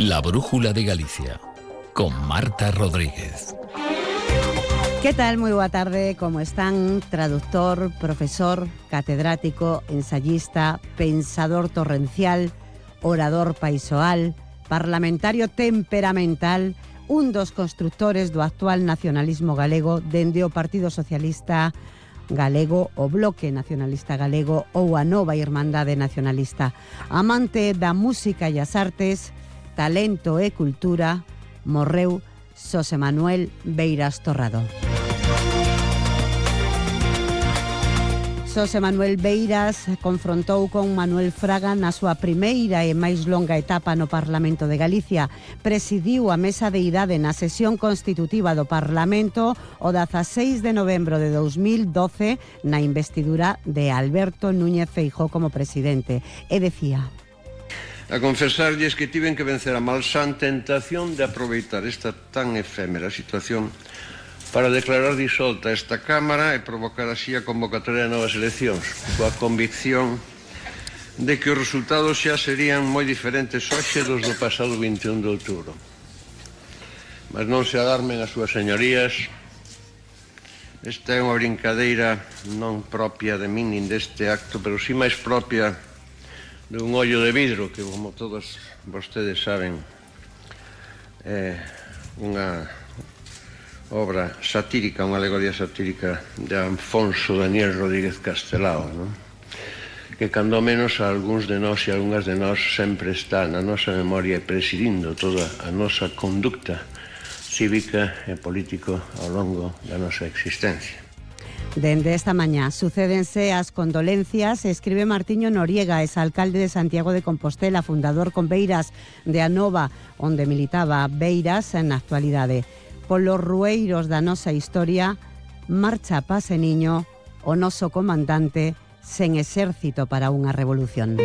La Brújula de Galicia, con Marta Rodríguez. ¿Qué tal? Muy boa tarde, como están? Traductor, profesor, catedrático, ensayista, pensador torrencial, orador paisoal, parlamentario temperamental, un dos constructores do actual nacionalismo galego dende o Partido Socialista Galego, o Bloque Nacionalista Galego ou a Nova Irmandade Nacionalista. Amante da música e as artes, talento e cultura, morreu Xosé Manuel Beiras Torrado. Xosé Manuel Beiras confrontou con Manuel Fraga na súa primeira e máis longa etapa no Parlamento de Galicia. Presidiu a mesa de idade na sesión constitutiva do Parlamento o 16 de novembro de 2012 na investidura de Alberto Núñez Feijóo como presidente. E decía: a confesarlles que tiven que vencer a malsán tentación de aproveitar esta tan efémera situación para declarar disolta esta Cámara e provocar así a convocatoria de novas eleccións, coa convicción de que os resultados xa serían moi diferentes hoxe dos do pasado 21 de outubro. Mas non se alarmen as súas señorías, esta é unha brincadeira non propia de min nin deste acto, pero si máis propia dun ollo de vidro, que como todos vostedes saben é unha obra satírica, unha alegoría satírica de Alfonso Daniel Rodríguez Castelao, non? Que cando menos a algúns de nós e algunhas de nós sempre está na nosa memoria presidindo toda a nosa conducta cívica e político ao longo da nosa existencia. Dende esta mañá sucédense as condolencias, escribe Martiño Noriega, exalcalde de Santiago de Compostela, fundador con Beiras de Anova, onde militaba Beiras na actualidade. Polos rueiros da nosa historia marcha a Paseniño o noso comandante sen exército para unha revolución.